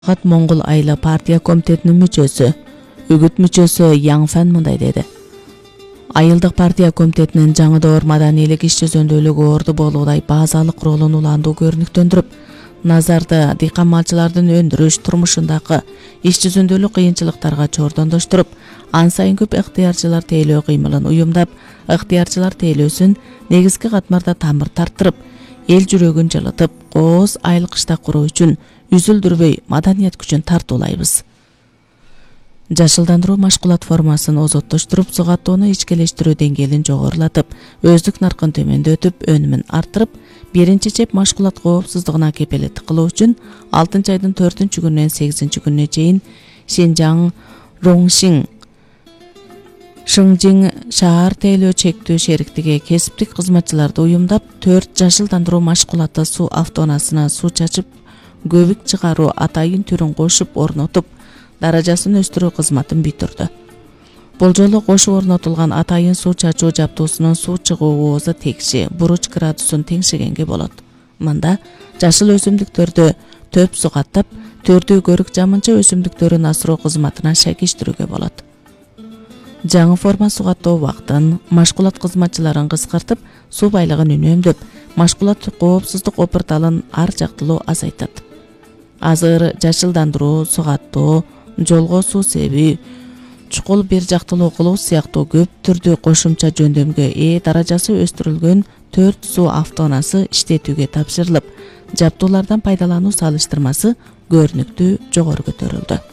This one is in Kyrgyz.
Моңгол айла партия комитетинин мүчөсү, үгүт мүчөсү Яң Фэн мындай деди. Айылдык партия комитетинин жаңыдоор маданийлик иш жүзүндүүлүгү орду болуудай базалык ролун улаандуу көрүнүктөндүрүп, назарды дыйкан малчылардын өндүрүш турмушундагы иш жүзүндүүлүк кыйынчылыктарга чордондоштуруп, ан сайын көп ыктыярчылар тейлөө кыймылын уюмдап, ыктыярчылар тейлөөсүн негизги катмарда тамыр тарттырып, эл жүрөгүн жылытып, кооз айыл кыштак куруу үчүн үзүлдүрбөй маданият күчүн тартуулайбыз. Жашылдандыруу машгулат формасын озоттоштуруп, сугаттоону ичкелештирүү деңгээлин жогорулатып, өздүк наркын төмөндөтүп, өнүмүн арттырып, биринчи чеп машгулат коопсуздугуна кепелеттик кылуу үчүн 6 айдын 4 күнүнөн 8 күнүнө чейин Шинжаң, Роңшин, Шыңжиң шаар тейлөө чектөө шериктиги кесиптик кызматчыларды уюмдап, 4 жашылдандыруу машгулаты суу автоунаасына суу чачып, көбүк чыгаруу атайын түрүн кошуп орнотуп, даражасын өстүрүү кызматын бүтүрдү. Бул жолу кошуп орнотулган атайын суу чачуу жабдуусунун суу чыгуу оозу текши, буруч градусун теңшегенге болот. Мында жашыл өсүмдүктөрдү төп сугаттап, төрдүү көрүк жамынча өсүмдүктөрүн асыроо кызматына шайкештирүүгө болот. Жаңы форма сугаттоо убактын, машгулат кызматчыларын кыскартып, суу байлыгын үнөмдөп, машгулат коопсуздук опурталын ар жактылуу азайтат. Азыр жашылдандыруу, сугаттоо, жолго суу себүү, чукул бир жактылуу кылуу сыяктуу көп түрдүү кошумча жөндөмгө ээ даражасы өстүрүлгөн 4 суу автоунаасы иштетүүгө тапшырылып, жабдуулардан пайдалануу салыштырмасы көрүнүктүү жогору көтөрүлдү.